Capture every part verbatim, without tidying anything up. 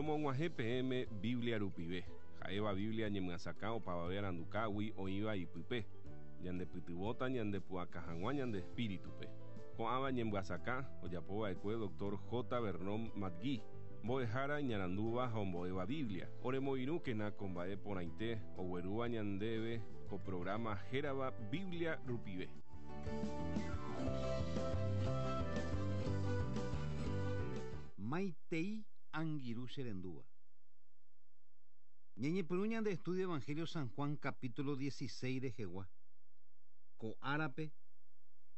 Romog̃uahẽ peẽme Biblia rupive. Ha'éva Biblia ñemyasakã opavave arandukágui oĩva ipype. Ñandepytyvõta ñandepu'aka hag̃ua ñande espíritupe. Ko'ãva ñemyasakã ojapova'ekue doctor J. Vernon McGee, mbo'ehára iñarandúva ha ombo'éva Biblia. Oremoirũkena ko mba'e porãite oguerúva ñandéve ko programa hérava Biblia rupive. Maitei angirũ cherendúva. Ñañepyrũ ñande estudio Evangelio San Juan capítulo dieciséis rehegua. Ko árape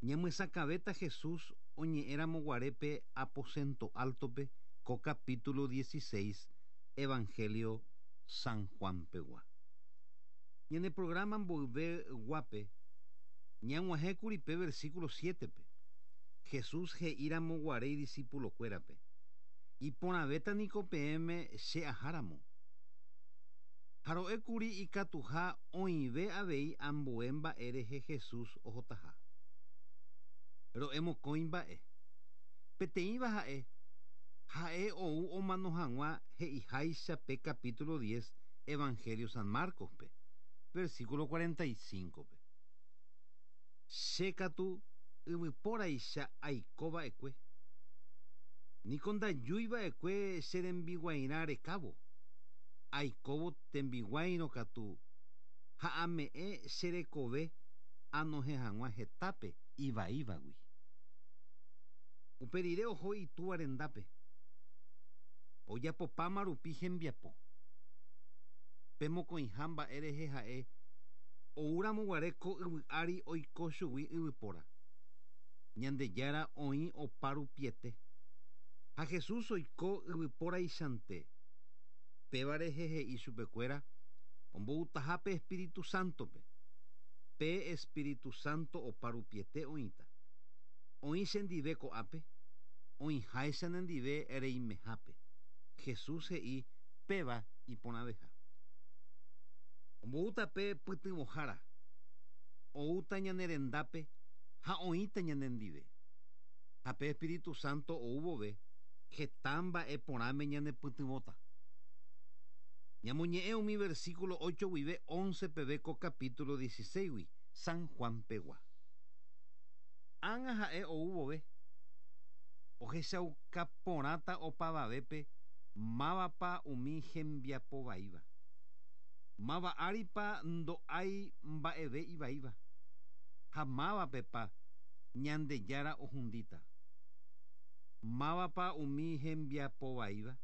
ñamyesakãvéta Jesús oñe'ẽramoguarépe aposento altope ko capítulo dieciséis Evangelio San Juan pegua. Ñane programa mboyve guape ñag̃uahẽkuri pe versículo siete-pe. Jesús he'íramoguare idiscípulokuérape. Iporãvéta niko peẽme che aháramo. Ha ro'ékuri ikatuha oĩve avei ambue mba'e rehe Jesús ohotaha. Ro'e mokõi mba'e. Peteĩva ha'e, ha'e ou omano hag̃ua he'iháicha pe capítulo diez Evangelio San Marcos-pe, versículo cuarenta y cinco-pe. Che katu yvypóraicha aikova'ekue. Niko ndajúiva'ekue che rembiguairã rekávo. Aikóvo tembiguairõ katu ha ame'ẽ che rekove anohẽ hag̃ua hetápe ivaívagui. Upe rire oho itúva rendápe. Ojapopáma rupi hembiapo. Pe mokõiha mba'e rehe ha'e oúramoguare ko yvy ári oiko chugui yvypóra. Ñandejára oĩ opa rupiete. Ha Jesús oiko yvypóraichante. Péva rehe he'i chupekuéra omboutaha pe Espíritu Santo-pe. Pe Espíritu Santo opa rupiete oĩta. Oĩ chendive ko'ápe, oĩháicha nendive reimehápe. Jesús he'i péva iporãveha. Omboúta pe pytyvõhára. Oúta ñane rendápe ha oĩta ñanendive. Ha pe Espíritu Santo ou vove heta mba'e porãme ñanepytyvõta. Ñamoñe'ẽ umi versículo ocho guive once peve ko capítulo dieciséis-gui San Juan pegua. Ág̃a ha'e ou vove ohechauka porãta opavavépe mávapa umi hembiapovaíva. Máva áripa ndo'ái mba'eve ivaíva. Ha mávapepa Ñandejára ohundíta. Mávapa umi hembiapovaíva.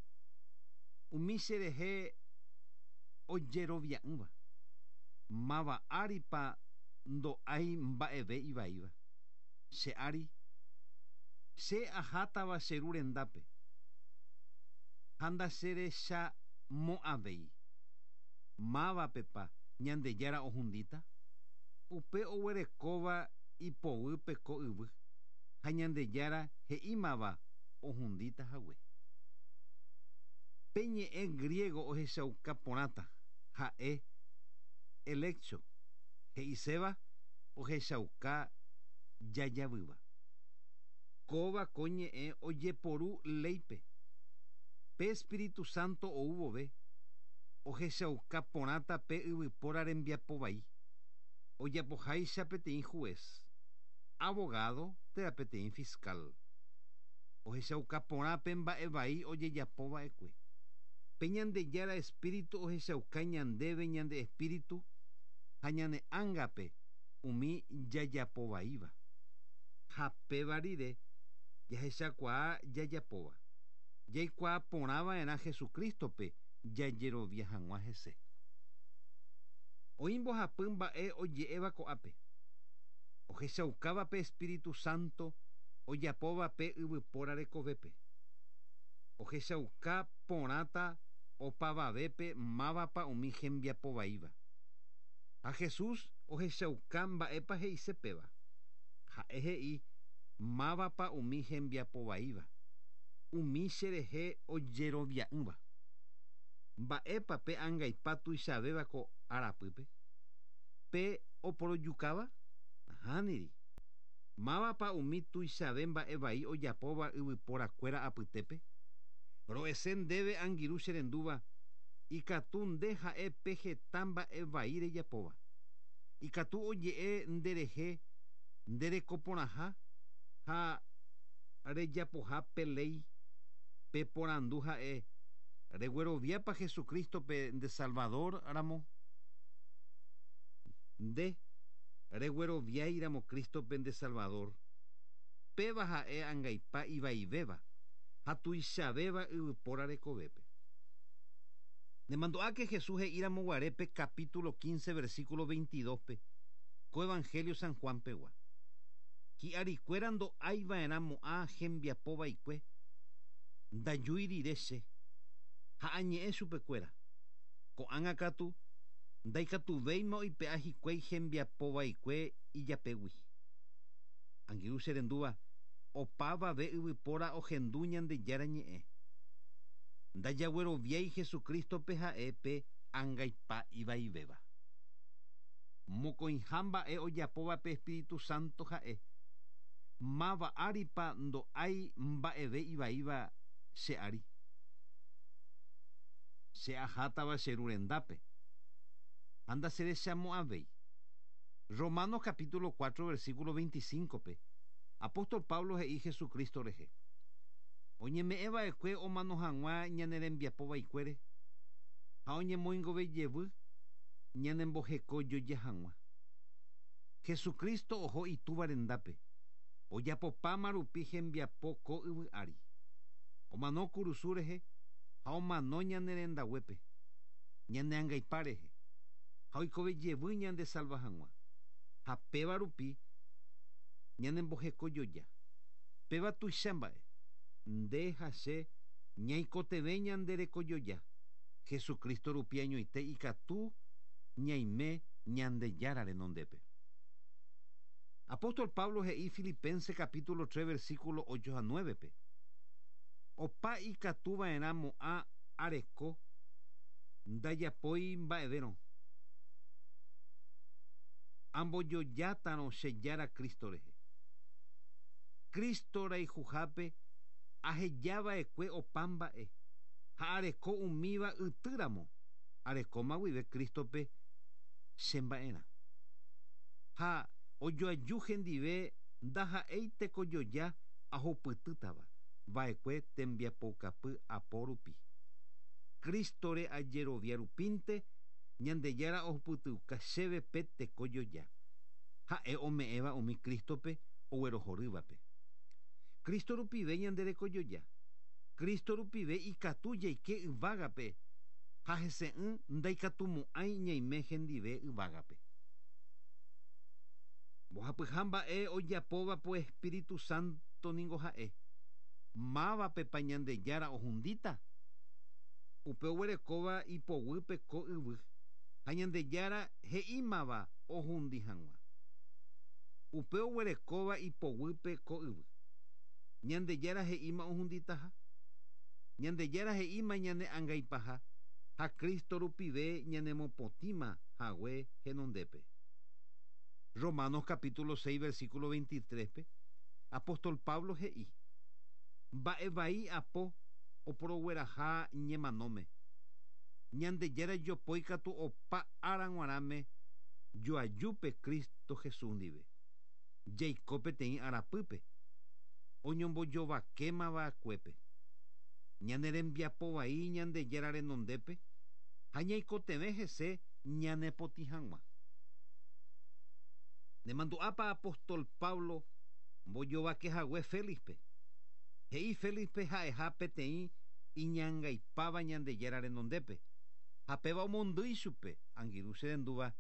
Umi cherehe ojerovia'ỹva. Máva áripa ndo'ái mba'eve ivaíva. Che ári, che ahátava che ru rendápe. Ha ndacherechamo'ãvéi. Mávapepa Ñandejára ohundíta. Upe oguerekóva ipoguýpe ko yvy. Ha Ñandejára he'ímava ohundíta hague. Pe ñe'ẽ griego ohechauka porãta ha'e eleccho he'iséva ohechauka jajavýva. Kóva ko ñe'ẽ ojeporu léipe. Pe Espíritu Santo ou vove ohechauka porãta pe yvypóra rembiapovai. Ojapoháicha peteĩ juez, abogado térã peteĩ fiscal. Ohechauka porã pe mba'e vai ojejapova'ekue. Pe Ñandejára Espíritu ohechauka ñandéve ñande espíritu ha ñane ángape umi jajapovaíva. Ha péva rire jahechakuaa jajapóva. Jaikuaa porãva'erã Jesucristo-pe jajerovia hag̃ua hese. Oĩ mbohapy mba'e oje'éva ko'ápe. Ohechaukáva pe Espíritu Santo ojapóva pe yvypóra rekovépe. Ohechauka porãta opavavépe mávapa umi hembiapovaíva. Ha Jesús ohechauka mba'épa he'ise péva. Ha'e he'i mávapa umi hembiapovaíva. Umi cherehe ojerovia'ỹva. Mba'épa pe angaipa tuichavéva ko arapýpe. Pe oporojukáva? Nahániri. Mávapa umi tuichave mba'e vai ojapóva yvyporakuéra apytépe. Ro'ese ndéve angirũ cherendúva ikatu nde ha'e pe heta mba'e vai rejapóva. Ikatu oje'e nderehe nderekoporãha ha rejapoha pe léi pe porandu ha'e regueroviápa Jesucristo-pe nde Salvador ramo. Nde regueroviáiramo Cristo-pe nde Salvador. Péva ha'e angaipa ivaivéva ha tuichavéva yvypóra rekovépe. Nemandu'áke Jesús he'íramo guarépe capítulo quince versículo veintidós-pe ko Evangelio San Juan pegua. Hi'arikuéra ndo'aiva'erãmo'ã hembiapova'ekue ndajúi rire che ha añe'ẽ chupekuéra. Ko'ág̃a katu ndaikatuvéima oipe'a hikuái hembiapova'ekue ijapégui. Angirũ cherendúva opavave yvypóra ohendu Ñandejára ñe'ẽ. Ndajagueroviái Jesucristo-pe ha'e pe angaipa ivaivéva. Mokõiha mba'e ojapóva pe Espíritu Santo ha'e. Máva áripa ndo'ái mba'eve ivaíva che ári. Che ahátava che ru rendápe. Ha ndacherechamo'ãvéi. Romanos capítulo cuatro versículo veinticinco-pe Apóstol Pablo he'i Jesucristo rehe. Oñeme'ẽva'ekue omano hag̃ua ñane rembiapova'ekuére ha oñemoingove jevy ñanembohekojoja hag̃ua. Jesucristo oho itúva rendápe. Ojapopáma rupi hembiapo ko yvy ári. Omano kurusu rehe ha omano ñane rendaguépe, ñane angaipa rehe, ha oikove jevy ñande salva hag̃ua. Ha péva rupi ñanembohekojoja. Péva tuicha mba'e. Nde ha che ñaikotevẽ ñande rekojoja. Jesucristo rupi añoite ikatu ñaime Ñandejára renondépe. Apóstol Pablo he'i Filipenses capítulo tres versículo ocho a nueve-pe. Opa ikatuva'erãmo'ã areko ndajapói mba'evérõ. Ambojojátarõ che Jára Cristo rehe. Cristo rayhuhápe ahejava'ekue opa mba'e ha areko umíva ytýramo arekóma guive Cristo-pe che mba'erã. Ha ojoaju hendive ndaha'éi tekojoja ahupytýtava va'ekue tembiapokapy apo rupi. Cristo-re ajerovia rupínte Ñandejára ohupytyuka chéve pe tekojoja. Ha'e ome'ẽva umi Cristo-pe oguerohorývape. Cristo rupive ñande rekojoja. Cristo rupive ikatu jaike yvágape ha hese'ỹ ndaikatumo'ãi ñaime hendive yvágape. Mbohapyha mba'e ojapóva po Espíritu Santo ningo ha'e. Mávapepa Ñandejára ohundíta. Upe oguerekóva ipoguýpe ko yvy ha Ñandejára he'ímava ohundi hag̃ua. Upe oguerekóva ipoguýpe ko yvy. Ñandejára he'íma ohunditaha. Ñandejára he'íma ñane angaipaha ha Cristo rupive ñanemopotĩma hague henondépe. Romanos capítulo seis versículo veintitrés-pe Apóstol Pablo he'i mba'e vai apo oporogueraha ñemanóme. Ñandejára jopói katu opa ára g̃uarãme joajúpe Cristo Jesús ndive. Jaiko peteĩ arapýpe oñombojovakémava'ekuépe. Ñane rembiapovai Ñandejára renondépe ha ñaikotevẽ hese ñanepotĩ hag̃ua. Nemandu'ápa Apóstol Pablo mbojovakehague Félixpe. He'i Félixpe ha'eha peteĩ iñangaipáva Ñandejára renondépe. Ha péva omondýi chupe angirũ cherendúva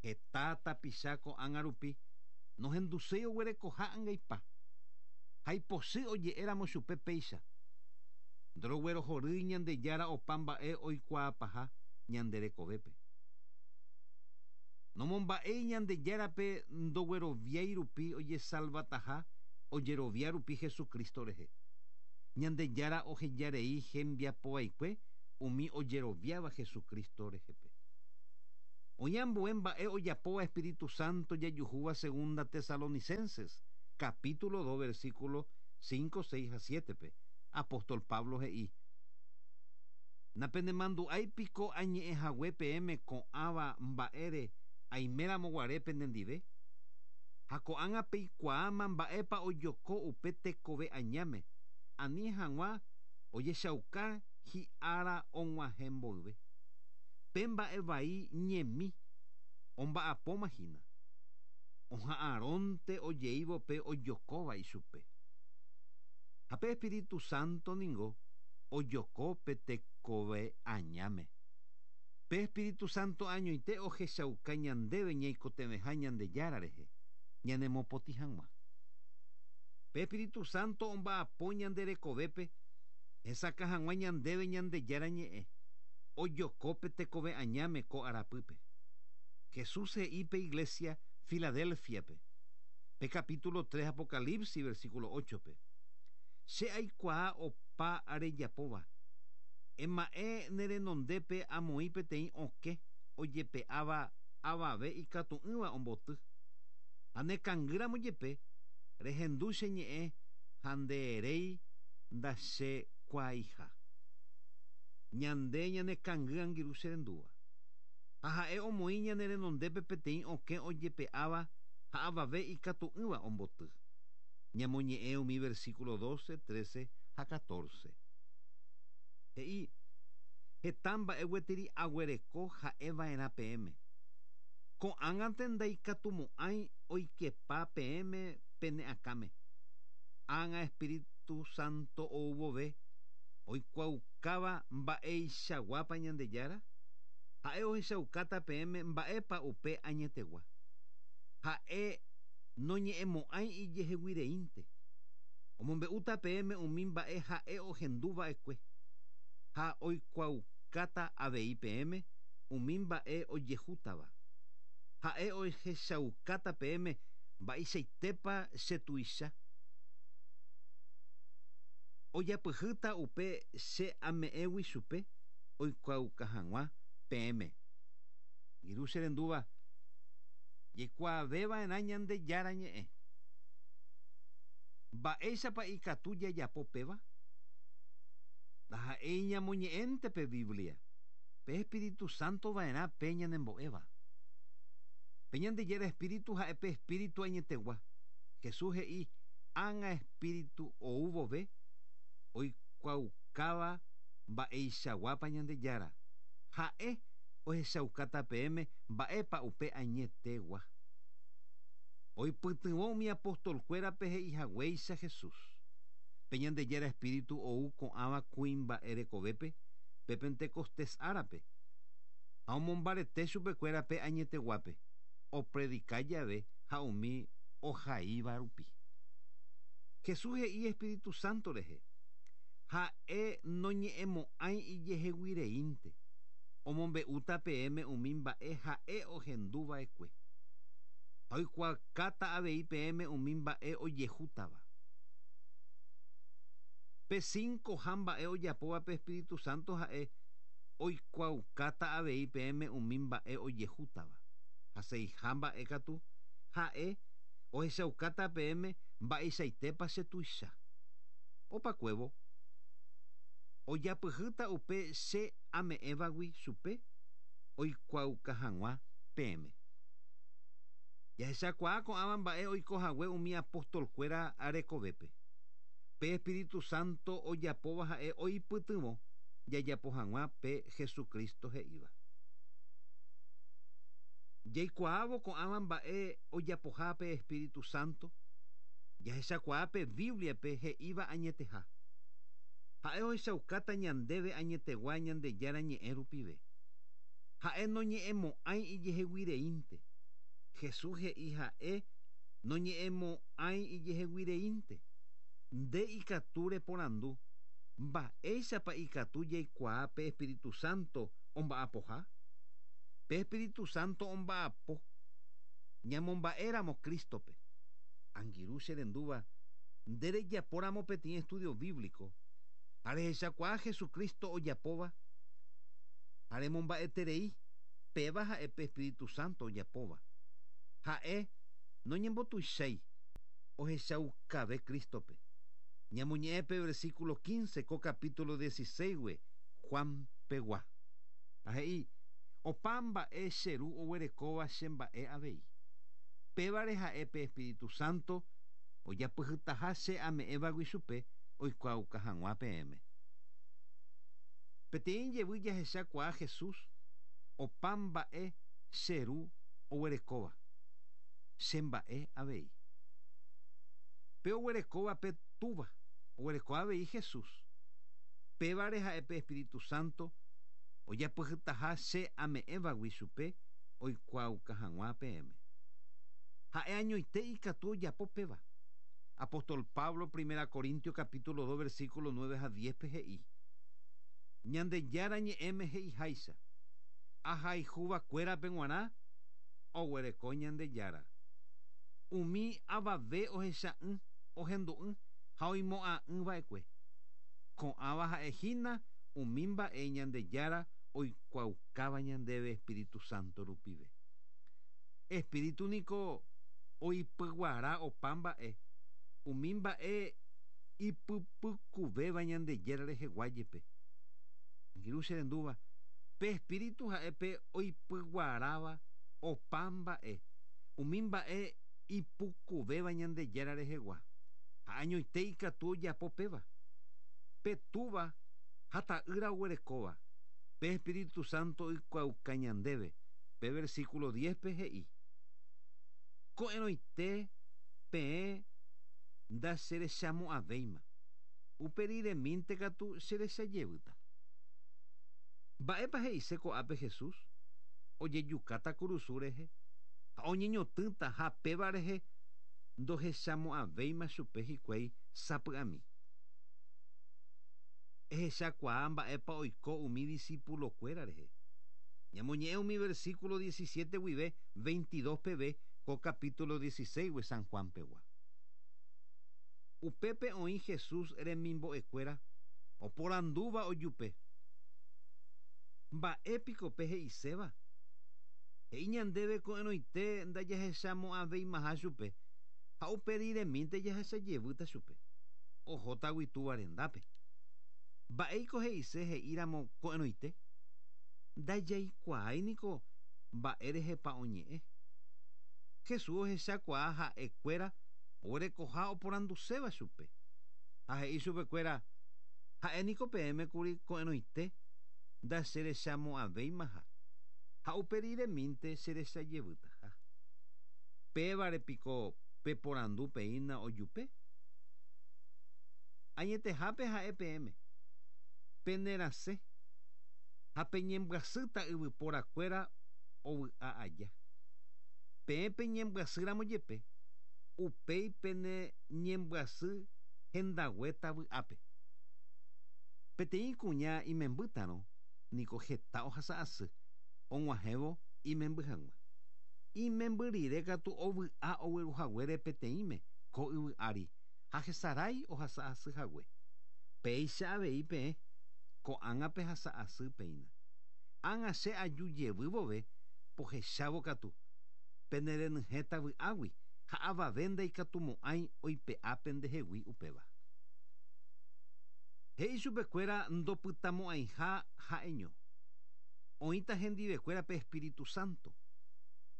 heta tapicha ko'ág̃a rupi nohenduséi oguerekoha angaipa. Ha ipochy oje'éramo chupe péicha. Ndoroguerohorýi Ñandejára opa mba'e oikuaapaha ñande rekovépe. Nomomba'éi Ñandejárape ndogueroviái rupi ojesalvataha ojerovia rupi Jesucristo rehe. Ñandejára ohejarei hembiapova'ekue umi ojeroviáva Jesucristo rehepe. Oñambue mba'e ojapóva Espíritu Santo jajuhúva Segunda Tesalonicenses, capítulo dos, versículo cinco, seis a siete-pe. Apóstol Pablo he'i Napenemandu'ái piko añe'ẽhague peẽme ko'ãva mba'ére aiméramoguare penendive ha ko'ág̃a peikuaáma mba'épa ojoko upe tekove añáme ani hag̃ua ojechauka hi'ára og̃uahẽ mboyve pe mba'e vai ñemi omba'apóma hína oha'ãrónte ojeívo pe ojokóva ichupe ha pe Espíritu Santo ningo ojoko pe tekove añáme pe Espíritu Santo añoite ohechauka ñandéve ñaikotevẽha Ñandejára rehe ñanemopotĩ hag̃ua pe Espíritu Santo omba'apo ñande rekovépe hesakã hag̃ua ñandéve Ñandejára ñe'ẽ ojoko pe tekove añáme ko arapýpe Jesús he'i pe iglesia Filadelfiape pe capítulo tres Apocalipsis versículo ocho-pe Che aikuaa opa rejapóva ema'ẽ nerenondépe amoĩ peteĩ okẽ ojepe'áva avave ikatu'ỹva omboty ha nekangýramo jepe rehendu che ñe'ẽ ha ndeeréi ndachekuaaiha ñande ñanekangy angirũ che rendúva ha ha'e omoĩ ñane renondépe peteĩ okẽ ojepe'áva ha avave ikatu'ỹva omboty ñamoñe'ẽ umi versículo doce, trece ha catorce he'i heta mba'e gueteri aguereko ha'eva'erã peẽme ko'ág̃ante ndaikatumo'ãi oikepa peẽme pene akãme ág̃a Espíritu Santo ouvove oikuaukáva mba'eichaguápa Ñandejára ha'e ohechaukáta peẽme mba'épa upe añetegua ha'e noñe'ẽmo'ãi ijeheguireínte omombe'úta peẽme umi mba'e ha'e ohenduva'ekue ha oikuaukáta avei peẽme umi mba'e ojehútava ha'e ohechaukáta peẽme mba'eichaitépa chetuicha ojapyhýta upe che ame'ẽgui chupe oikuauka hag̃ua peẽme irũ che rendúva jaikuaaveva'erã Ñandejára ñe'ẽ mba'éichapa ikatu jajapo péva ndaha'éi ñamoñe'ẽnte pe Biblia pe Espíritu Santo va'erã pe ñanembo'éva pe Ñandejára Espíritu ha'e pe Espíritu añetegua Jesús he'i ág̃a Espíritu oúvove oikuaukáva mba'eichaguápa Ñandejára ha'e ohechaukáta peẽme mba'épa upe añetegua oipytyvõ umi apostolkuérape he'ihaguéicha Jesús pe Ñandejára Espíritu ou ko'ãva kuimba'e rekovépe pe Pentecostés árape ha omombarete chupekuéra pe añeteguápe opredika jave ha umi ohaíva rupi Jesús he'i Espíritu Santo rehe ha'e noñe'ẽmo'ãi ijeheguireínte omombe'úta peẽme umi mba'e ha'e ohenduva'ekue ha oikuaakáta avei peẽme umi mba'e ojehútava pe cinco ha mba'e ojapóva pe Espíritu Santo ha'e oikuaukáta avei peẽme umi mba'e ojehútava ha seiha mba'e katu ha'e ohechaukáta peẽme mba'eichaitépa chetuicha opakuévo ojapyhýta upe che ame'ẽvagui chupe oikuauka hag̃ua peẽme jahechakuaa ko'ãva mba'e oikohague umi apostolkuéra rekovépe pe Espíritu Santo ojapóva ha'e oipytyvõ jajapo hag̃ua pe Jesucristo he'íva jaikuaávo ko'ãva mba'e ojapoha pe Espíritu Santo jahechakuaa pe Bibliape he'íva añeteha ha'e ohechaukáta ñandéve añetegua Ñandejára ñe'ẽ rupive ha'e noñe'ẽmo'ãi ijeheguireínte Jesús he'i ha'e noñe'ẽmo'ãi ijeheguireínte nde ikatu reporandu mba'éichapa ikatu jaikuaa pe Espíritu Santo omba'apoha pe Espíritu Santo omba'apo ñamomba'éramo Cristope angirũ che rendúva nde rejapóramo peteĩ estudio bíblico ha rehechakuaa Jesucristo ojapóva ha remomba'eterei péva ha'e pe Espíritu Santo ojapóva ha'e noñembotuichái ohechaukave Cristope Ñamoñe'ẽ versículo quince ko capítulo dieciséis gui Juan pegua. Ha he'i opa mba'e che ru oguerekóva che mba'e avei. Pévare ha'e pe Espíritu Santo ojapyhytaha che ame'ẽvagui chupe oikuaauka hag̃ua peẽme. Peteĩ jevy jahechakuaa Jesús opa mba'e che ru oguerekóva che mba'e avei. Pe oguerekóva pe túva oguereko avei Jesús. Pévare ha'e pe Espíritu Santo ojapyhytaha che ame'ẽvagui chupe oikuaauka hag̃ua peẽme. Ha'e añoite ikatu ojapo péva. Apóstol Pablo, primera Corintios capítulo dos, versículo nueve a diez pe he'i. Ñandejára ñe'ẽme he'iháicha. Ahayhuvakuérape g̃uarã oguereko Ñandejára. Umi avave ohecha'ỹ ohendu'ỹ ha oimo'ã'ỹva'ekue. Ko'ãva ha'ehína umi mba'e Ñandejára oikuaaukáva ñandéve Espíritu Santo rupive. Espíritu niko oipyguara opa mba'e umi mba'e ipypykuvéva Ñandejára rehegua jepe. Angirũ che rendúva, pe Espíritu ha'e pe oipyguaráva opa mba'e umi mba'e ipukuvéva Ñandejára rehegua. Ha añoite ikatu ojapo péva. Pe túva ha ta'ýra oguerekóva. Pe Espíritu Santo oikuaauka ñandéve. Pe versículo diez pe he'i. Ko'ẽrõite peẽ ndacherechamo'ãvéima. Uperiremínte katu cherechajevýta. Mba'épa he'ise ko'ápe Jesús? Ojejukáta kurusu rehe ha oñeñotỹta ha péva rehe ndohechamo'ãvéima chupe hikuái sapy'ami. Ehechakuaa mba'épa oiko umi discípulo-kuéra rehe. Ñamoñe'ẽ umi versículo diecisiete guive veintidós peve ko capítulo dieciséis gui San Juan pegua. Upépe oĩ Jesús remimbo'ekuéra oporandúva ojupe. Mba'épiko pe he'iséva? He'i ñandéve ko'ẽrõite ndajahechamo'ãveimaha chupe ha uperiremínte jahechajevýta chupe. Ohótagui túva rendápe. Mba'éiko he'ise he'íramo ko'ẽrõite? Ndajaikuaái niko mba'e rehepa oñe'ẽ. Jesús ohechakuaa ha'ekuéra oguerekoha oporanduséva chupe. Ha he'i chupekuéra ha'e niko peẽme kuri ko'ẽrõite ndacherechamo'ãvéimaha ha uperiremínte cherechajevýtaha. Pévare piko peporandu peína ojupe? Añetehápe ha'e peẽme. Penerasẽ ha peñembyasýta yvyporakuéra ovy'a aja. Peẽ peñembyasýramo jepe upéi pene ñembyasy hendaguéta vy'ápe. Peteĩ kuña imembýtarõ niko heta ohasa asy og̃uahẽvo imemby hag̃ua. Imemby rire katu ovy'a ogueruhaguére peteĩme ko yvy ári ha hesarái ohasa asy hague. Péicha avei peẽ ko'ág̃a pehasa asy péina. Ág̃a che aju jevy vove pohechávo katu penerenyhẽta vy'águi ha avave ndaikatumo'ãi oipe'a pendehegui upéva. He'i chupekuéra ndopytamo'ãiha ha'eño. Oĩta hendivekuéra pe Espíritu Santo.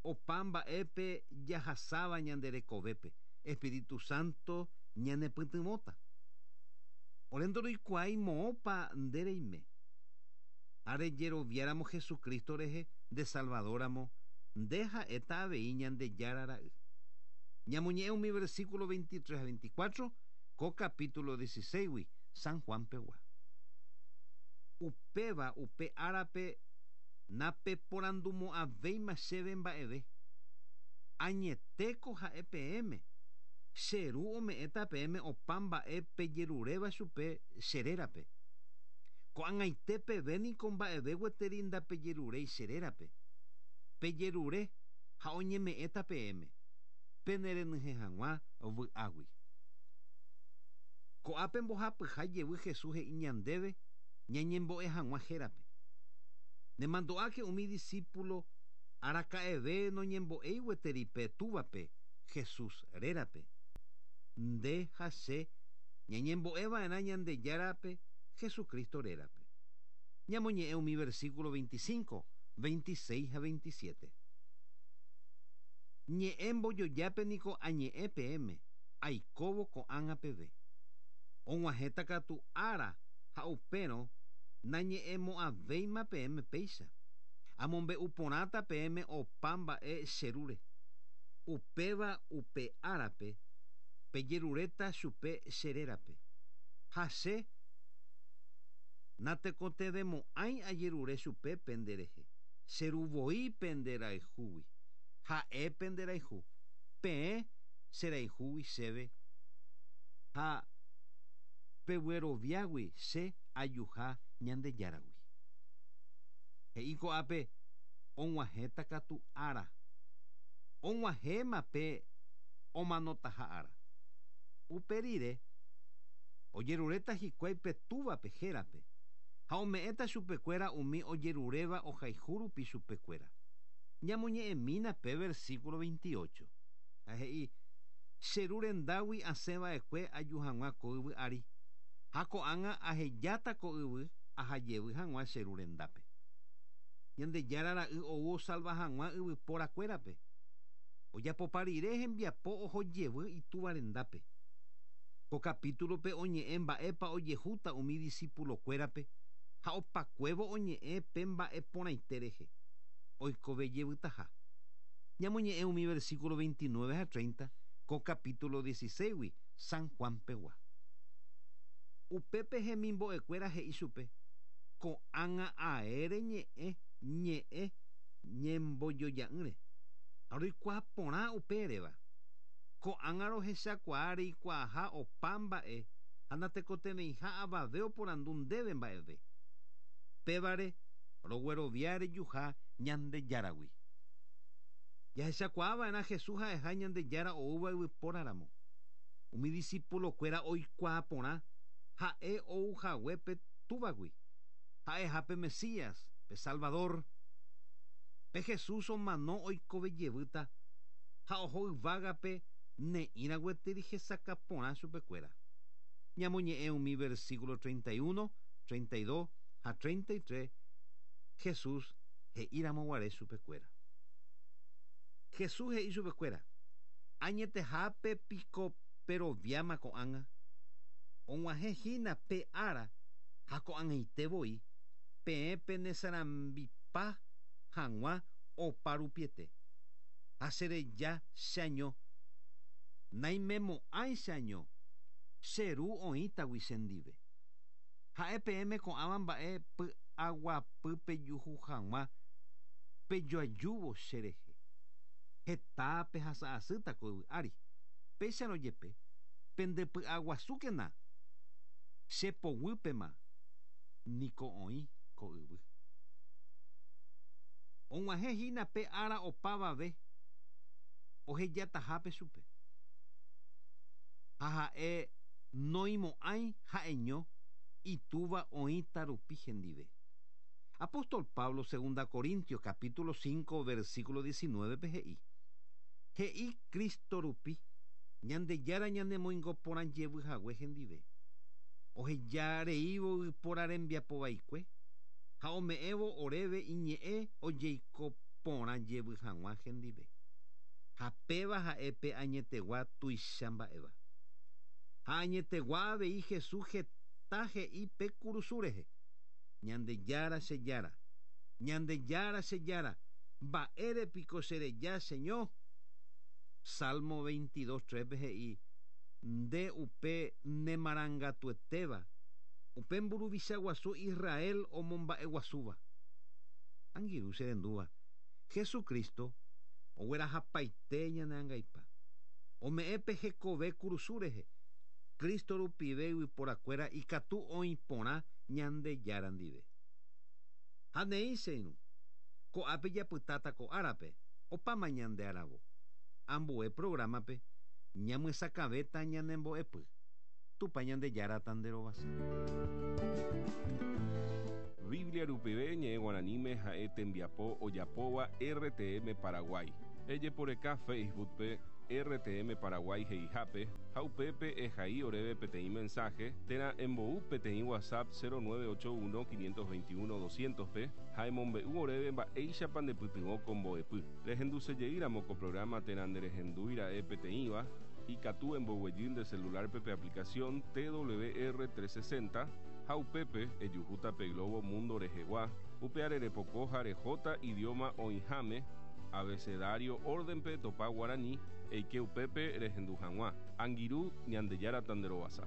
Opa mba'épe jahasáva ñande rekovépe. Espíritu Santo ñanepytyvõta. Ore ndoroikuaái moõpa nde reime. Ha rejeroviáramo Jesucristo rehe nde Salvadoramo nde ha'éta avei Ñandejára ra'y. Ñamoñe'ẽ umi versículo veintitrés a veinticuatro ko capítulo dieciséis gui San Juan pegua. Upéva upe árape napeporandumo'ãvéima chéve mba'eve. Añetéko ha'e peẽme. Che ru ome'ẽta peẽme opa mba'e pejeruréva chupe che rérape. Ko'ag̃aite peve niko mba'eve gueteri ndapejeruréi che rérape. Pejerure ha oñeme'ẽta peẽme. Penerenyhẽ hag̃ua vy'águi. Ko'ápe mbohapyha jevy Jesús he'i ñandéve ñañembo'e hag̃ua hérape. Nemando'áke umi discípulo araka'eve noñembo'éi gueteri pe túvape Jesús rérape. Nde ha che Ñañembo'eva'erã Ñandejárape Jesucristo rérape. Ñamoñe'ẽ umi versículo veinticinco, veintiséis ha veintisiete. Ñe'ẽ mbojojápe niko añe'ẽ peẽme, aikóvo ko'ág̃a peve. Og̃uahẽta katu ára ha upérõ nañe'ẽmo'ãvéima peẽme péicha. Amombe'u porãta peẽme opa mba'e cherúre. Upéva upe árape pejeruréta chupe che rérape. Ha che natekotevẽmo'ãi ajerure chupe penderehe. Cheruvoi penderayhúgui. Ha'e penderayhu. Peẽ cherayhúgui chéve. Ha pegueroviágui che ajuha Ñandejáragui. He'i ko'ápe og̃uahẽta katu ára. Og̃uahẽma pe omanotaha ára. Upe rire ojeruréta hikuái pe túvape hérape ha ome'ẽta chupekuéra umi ojeruréva ohayhu rupi chupekuéra. Ñamoñe'ẽmína pe versículo veintiocho. Ha he'i che ru rendágui asẽva'ekue aju hag̃ua ko yvy ári. Ha ko'ág̃a ahejáta ko yvy ahajevy hag̃ua che ru rendápe. Ñandejára ra'y ou osalva hag̃ua yvyporakuérape. Ojapopa rire hembiapo ohojevy itúva rendápe. Ko capítulope oñe'ẽ mba'épa ojehúta umi discípulokuérape ha opakuévo oñe'ẽ pe mba'e porãite rehe. Oikove jevytaha. Ñamoñe'ẽ umi versículo veintinueve ha treinta ko capítulo dieciséis San Juan pegua. Upépe hemimbo'ekuéra he'i chupe ko'ág̃a aére ñe'ẽ ñe'ẽ ñembojoja'ỹre. Ha roikuaa porã upe eréva. Ko'ág̃a rohechakuaa reikuaaha opa mba'e ha natekotevẽiha avave oporandu ndéve mba'eve. Pévare roguerovia rejuha Ñandejáragui. Jahechakuaava'erã Jesús ha'eha Ñandejára oúva yvypóraramo. Umi discípulokuéra oikuaa porã ha'e ouhague pe túvagui. Ha'eha pe Mesías, pe Salvador. Pe Jesús omano oikove jevýta ha oho yvágape ne'ĩra gueteri hesakã porã chupekuéra. Ñamoñe'ẽ umi versículo treinta y uno, treinta y dos ha treinta y tres Jesús he'íramo guare chupekuéra. Jesús he'i chupekuéra añetehápe piko peroviáma ko'ág̃a. Og̃uahẽ hína pe ára ha ko'ag̃aite voi peẽ penesarambipa hag̃ua opa rupiete. Ha chereja cheaño. Naimemo'ãi cheaño. Che ru oĩtagui chendive. Ha'e peẽme ko'ãva mba'e py'aguapy pejuhu hag̃ua pejoajúvo cherehe. Heta pehasa'asýta ko yvy ári. Péicharõ jepe pendepy'aguasúkena che poguýpema niko oĩ ko yvy. Og̃uahẽ hína pe ára opavave ohejatahápe chupe. Ha ha'e noimo'ãi ha'eño itúva oĩta rupi hendive. Apóstol Pablo, segunda Corintios, capítulo cinco, versículo diecinueve, he'i. He'i Cristo rupi, Ñandejára ñanemoingo porã jevy hague hendive. Oheja reívo yvypóra rembiapo vaikue, ha ome'ẽvo oréve iñe'ẽ ojeiko porã jevy hag̃ua hendive. Ha péva ha'e pe añetegua tuicha mba'éva. Ha añetegua avei Jesús heta he'i pe kurusu rehe. Ñandejára che jára, Ñandejára che jára, mba'ére piko chereja cheño. Salmo veintidós, tres he'i, nde upe nemarangatuetéva, upe mburuvicha guasu Israel omomba'eguasúva. Angirũ cherendúva, Jesucristo oguerahapaite ñaneangaipa. Ome'ẽ pe hekove kurusu rehe. Cristo rupive yvyporakuéra ikatu oĩ porã Ñandejára ndive. Ha neĩ che irũ, ko'ápe japytáta ko árape, opáma ñande aravo. Ambue programape ñamyesakãvéta ñanembo'epy. Tupã Ñandejára tanderovasa. Biblia rupive ñe'ẽ guaraníme ha'e tembiapo ojapóva R T M Paraguay. Ejeporeka Facebook pe R T M Paraguay he'ihápe ha upépe ehai oréve peteĩ mensaje térã embou peteĩ WhatsApp cero nueve ocho uno quinientos veintiuno doscientos pe ha emombe'u oréve mba'éichapa ndepytyvõ ko mbo'epy. Rehendusejeýramo ko programa térã nderehendúira'e peteĩva, ikatu emboguejy nde celular pe aplicación T W R trescientos sesenta ha upépe ejuhúta pe globo mundo rehegua, upe repoko ha rehóta idioma oĩháme abecedario órdenpe topa guaraní eike upépe rehendu hag̃ua. Angirũ, Ñandejára tanderovasa.